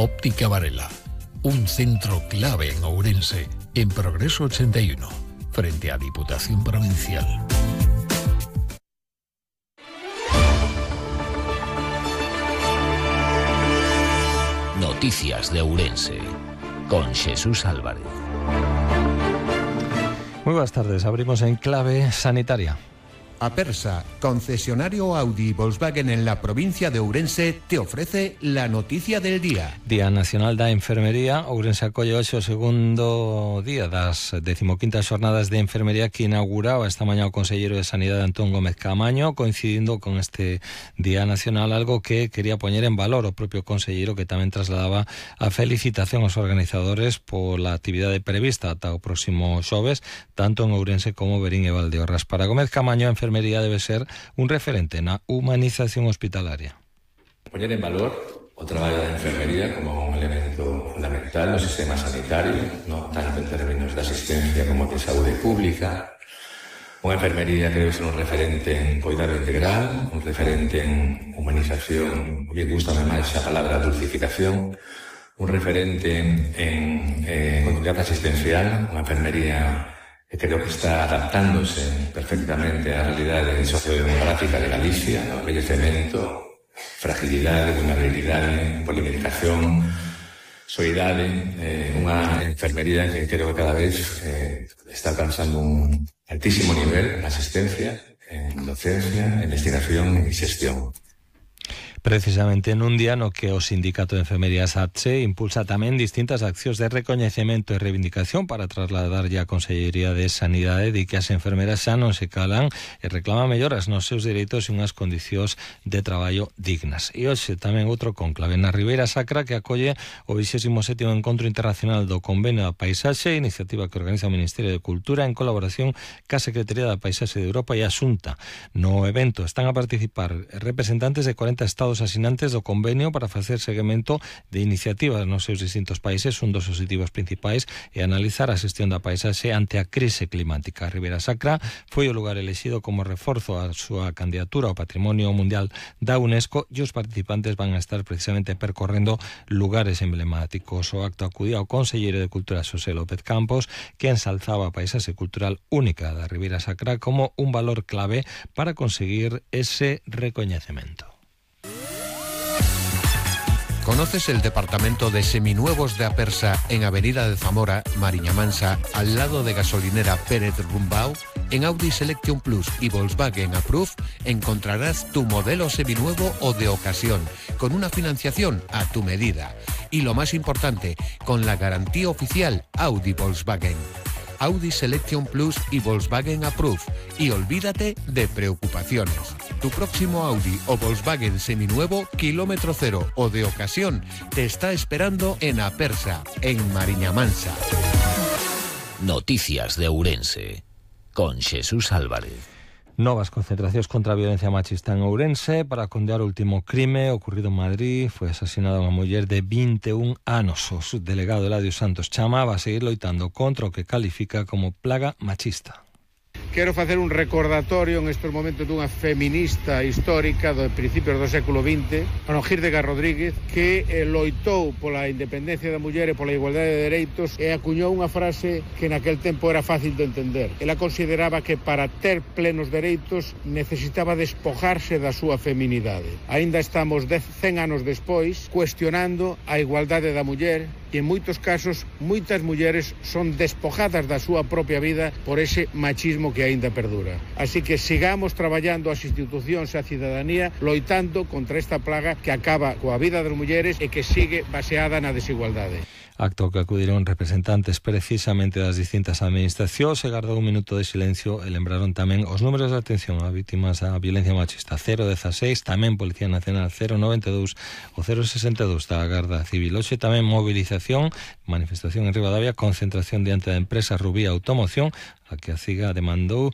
Óptica Varela, un centro clave en Ourense, en Progreso 81, frente a Diputación Provincial. Noticias de Ourense, con Jesús Álvarez. Muy buenas tardes, abrimos en clave sanitaria. Apersa, concesionario Audi y Volkswagen en la provincia de Ourense, te ofrece la noticia del día. Día Nacional da Enfermería. Ourense acolle hoxe o segundo día das 15ª xornadas de enfermería que inauguraba esta mañá o conselleiro de Sanidade Antón Gómez Caamaño, coincidindo con este Día Nacional, algo que quería poñer en valor o propio conselleiro, que tamén trasladaba a felicitación aos organizadores pola actividade prevista ata o próximo xoves, tanto en Ourense como Verín e Valdeorras. Para Gómez Caamaño, a enfermería debe ser un referente na humanización hospitalaria. Poñer en valor o traballo da enfermería como un elemento fundamental no sistema sanitario, no tanto en términos de asistencia como de saúde pública. Unha enfermería que debe ser un referente en cuidado integral, un referente en humanización, que gustame máis a palabra dulcificación, un referente en continuidade asistencial, unha enfermería que creo que está adaptándose perfectamente á realidade sociodemográfica de Galicia, no envellecemento, fragilidade, vulnerabilidade, polimedicación, soidade, unha enfermería que creo que cada vez está alcanzando un altísimo nivel en asistencia, en docencia, en investigación e xestión. Precisamente nun día no que o Sindicato de Enfermería SATSE impulsa tamén distintas accións de recoñecemento e reivindicación para trasladar a Consellería de Sanidade de que as enfermeras xa non se calan e reclaman melloras nos seus dereitos e unhas condicións de traballo dignas. E hoxe tamén outro conclave na Ribeira Sacra, que acolle o 27º Encontro Internacional do Convenio da Paisaxe, iniciativa que organiza o Ministerio de Cultura en colaboración ca Secretaría da Paisaxe de Europa e a Xunta. No evento están a participar representantes de 40 estados asinantes do convenio para facer seguimento de iniciativas nos seus distintos países. Un dos obxectivos principais é analizar a xestión da paisaxe ante a crise climática. A Ribeira Sacra foi o lugar elexido como reforzo a súa candidatura ao Patrimonio Mundial da UNESCO e os participantes van a estar precisamente percorrendo lugares emblemáticos. O acto acudía ao conselleiro de Cultura Xosé López Campos, que ensalzaba a paisaxe cultural única da Ribeira Sacra como un valor clave para conseguir ese recoñecemento. ¿Conoces el departamento de seminuevos de Apersa en Avenida de Zamora, Mariña Mansa, al lado de gasolinera Pérez Rumbao? En Audi Selection Plus y Volkswagen Approve encontrarás tu modelo seminuevo o de ocasión, con una financiación a tu medida. Y lo más importante, con la garantía oficial Audi Volkswagen. Audi Selection Plus y Volkswagen Approve. Y olvídate de preocupaciones. Tu próximo Audi o Volkswagen seminuevo, kilómetro cero o de ocasión, te está esperando en Apersa, en Mariña Mansa. Noticias de Ourense, con Jesús Álvarez. Novas concentracións contra a violencia machista en Ourense para condear o último crime ocorrido en Madrid. Foi asesinada unha muller de 21 anos. O subdelegado Eladio Santos Chama va a seguir loitando contra o que califica como plaga machista. Quero facer un recordatorio en estes momentos dunha feminista histórica do principios do século XX, Ana Gírdega Rodríguez, que loitou pola independencia da muller e pola igualdade de dereitos e acuñou unha frase que naquel tempo era fácil de entender. Ela consideraba que para ter plenos dereitos necesitaba despojarse da súa feminidade. Aínda estamos 100 anos despois cuestionando a igualdade da muller e en moitos casos moitas mulleres son despojadas da súa propia vida por ese machismo que aínda perdura. Así que sigamos traballando as institucións e a cidadanía loitando contra esta plaga que acaba coa vida das mulleres e que sigue baseada na desigualdade. Acto que acudiron representantes precisamente das distintas administracións e gardou un minuto de silencio e lembraron tamén os números de atención a vítimas da violencia machista 016, tamén Policía Nacional 092 o 062 da Garda Civil. Hoxe tamén movilización, manifestación en Ribadavia, concentración diante da empresa Rubí Automoción, a que a CIGA demandou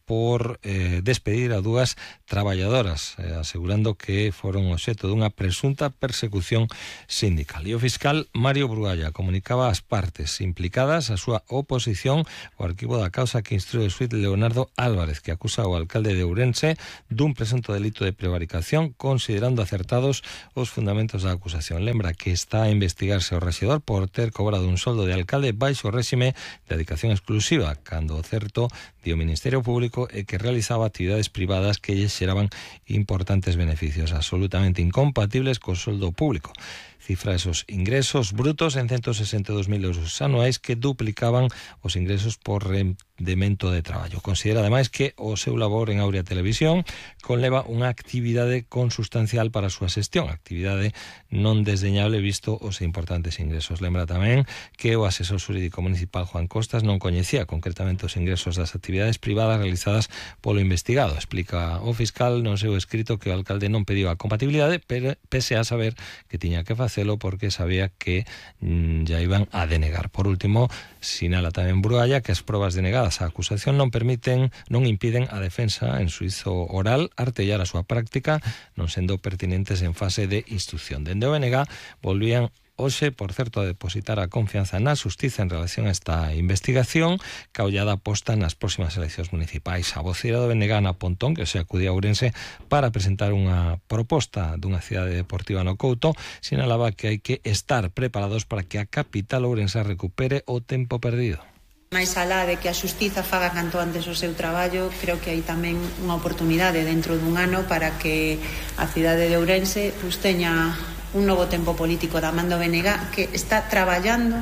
por despedir a dúas traballadoras, asegurando que foron obxecto dunha presunta persecución sindical. E o fiscal Mario Brualla comunicaba ás partes implicadas a súa oposición ao arquivo da causa que instrue o xuíz Leonardo Álvarez, que acusa ao alcalde de Ourense dun presunto delito de prevaricación, considerando acertados os fundamentos da acusación. Lembra que está a investigarse o rexedor por ter cobrado un soldo de alcalde baixo o réxime de dedicación exclusiva, cando o certo di o Ministerio Público é que realizaba actividades privadas que lle xeraban importantes beneficios absolutamente incompatibles co soldo público. Cifra esos ingresos brutos en 162.000 euros anuais que duplicaban os ingresos por rendemento de traballo. Considera ademais que o seu labor en Aurea Televisión conleva unha actividade consustancial para a súa xestión, actividade non desdeñable visto os importantes ingresos. Lembra tamén que o asesor xurídico municipal Juan Costas non coñecía concretamente os ingresos das actividades privadas realizadas polo investigado. Explica o fiscal no seu escrito que o alcalde non pediu a compatibilidade, pero pese a saber que tiña que facelo porque sabía que ya iban a denegar. Por último, sinala tamén Brualla que as probas denegadas á acusación non impiden a defensa en suizo oral artellar a súa práctica, non sendo pertinentes en fase de instrucción. Dende o BNG volvían hoxe, por certo, a depositar a confianza na xustiza en relación a esta investigación, ca ollada posta nas próximas eleccións municipais. A voceira do BNG, Ana Pontón, que se acudía a Ourense para presentar unha proposta dunha cidade deportiva no Couto, sinalaba que hai que estar preparados para que a capital ourense recupere o tempo perdido. Mais alá de que a xustiza faga canto antes o seu traballo, creo que hai tamén unha oportunidade dentro dun ano para que a cidade de Ourense teña un novo tempo político da man do BNG que está traballando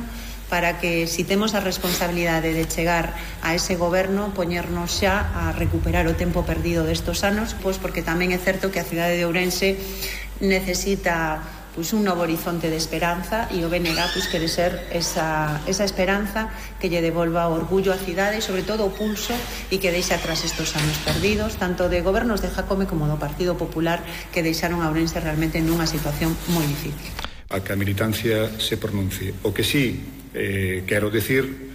para que, si temos a responsabilidade de chegar a ese goberno, poñernos xa a recuperar o tempo perdido destos anos, pois porque tamén é certo que a cidade de Ourense necesita un novo horizonte de esperanza e o BNG quere ser esa esperanza que lle devolva o orgullo á cidade e sobre todo o pulso e que deixe atrás estos anos perdidos, tanto de gobernos de Jácome como do Partido Popular, que deixaron a Ourense realmente nunha situación moi difícil. A que a militancia se pronuncie. O que sí quero decir,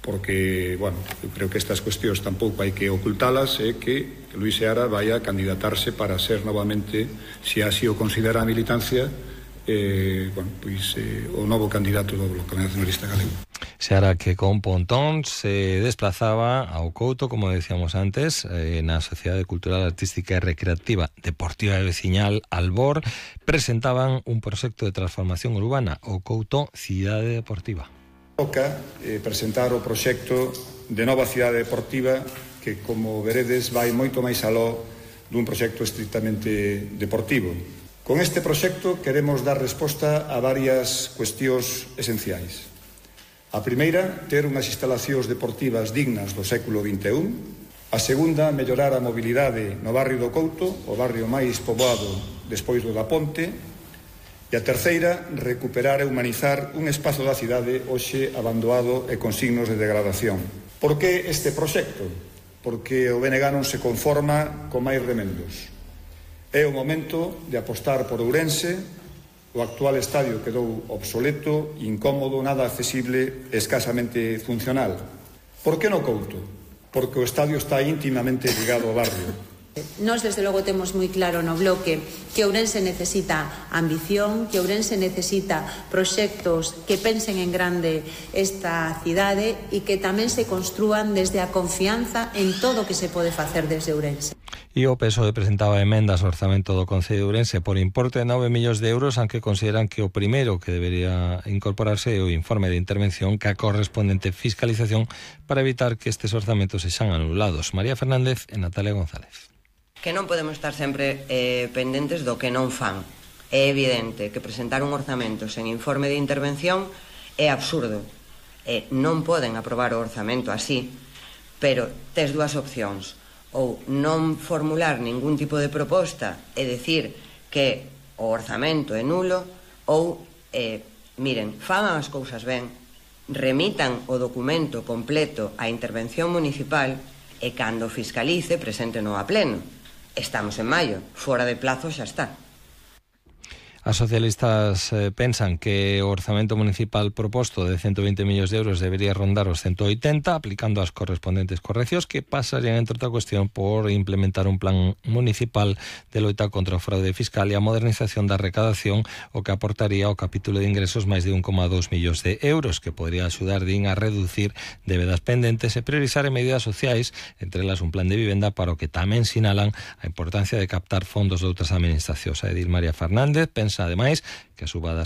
porque, eu creo que estas cuestións tampouco hai que ocultalas, é que Luís Seara vai a candidatarse para ser novamente, se así o considera a militancia, o novo candidato do Bloque Nacionalista Galego. Seara que con Pontón se desplazaba ao Couto, como decíamos antes, na Sociedade Cultural, Artística e Recreativa Deportiva e Veciñal Albor, presentaban un proxecto de transformación urbana, o Couto Cidade Deportiva. Toca presentar o proxecto de nova cidade deportiva que, como veredes, vai moito máis aló dun proxecto estrictamente deportivo. Con este proxecto queremos dar resposta a varias cuestións esenciais. A primeira, ter unhas instalacións deportivas dignas do século XXI. A segunda, mellorar a mobilidade no barrio do Couto, o barrio máis poboado despois do da Ponte. E a terceira, recuperar e humanizar un espazo da cidade hoxe abandonado e con signos de degradación. Por que este proxecto? Porque o BNG non se conforma con máis remendos. É o momento de apostar por Ourense. O actual estadio quedou obsoleto, incómodo, nada accesible e escasamente funcional. Por que no Couto? Porque o estadio está íntimamente ligado ao barrio. Nós, desde logo, temos moi claro no Bloque que Ourense necesita ambición, que Ourense necesita proxectos que pensen en grande esta cidade e que tamén se construan desde a confianza en todo o que se pode facer desde Ourense. E o PSOE presentaba emendas ao orzamento do Concello de Ourense por importe de 9 millóns de euros, aunque consideran que o primeiro que debería incorporarse é o informe de intervención ca correspondente fiscalización para evitar que estes orzamentos sexan anulados. María Fernández e Natalia González. Que non podemos estar sempre pendentes do que non fan. É evidente que presentar un orzamento sen informe de intervención é absurdo. Non poden aprobar o orzamento así, pero tes dúas opcións. Ou non formular ningún tipo de proposta e decir que o orzamento é nulo, ou, miren, fagan as cousas ben, remitan o documento completo á intervención municipal e cando fiscalice presenten-no a pleno. Estamos en maio, fora de plazo xa está. As socialistas pensan que o orzamento municipal proposto de 120 millóns de euros debería rondar os 180, aplicando as correspondentes correccións que pasarían, entre outra cuestión, por implementar un plan municipal de loita contra o fraude fiscal e a modernización da recadación, o que aportaría ao capítulo de ingresos máis de 1,2 millóns de euros, que podría axudar, din, a reducir débedas pendentes e priorizar en medidas sociais, entre elas un plan de vivenda, para o que tamén sinalan a importancia de captar fondos de outras administracións. A Edil María Fernández pensa, ademais, que a suba das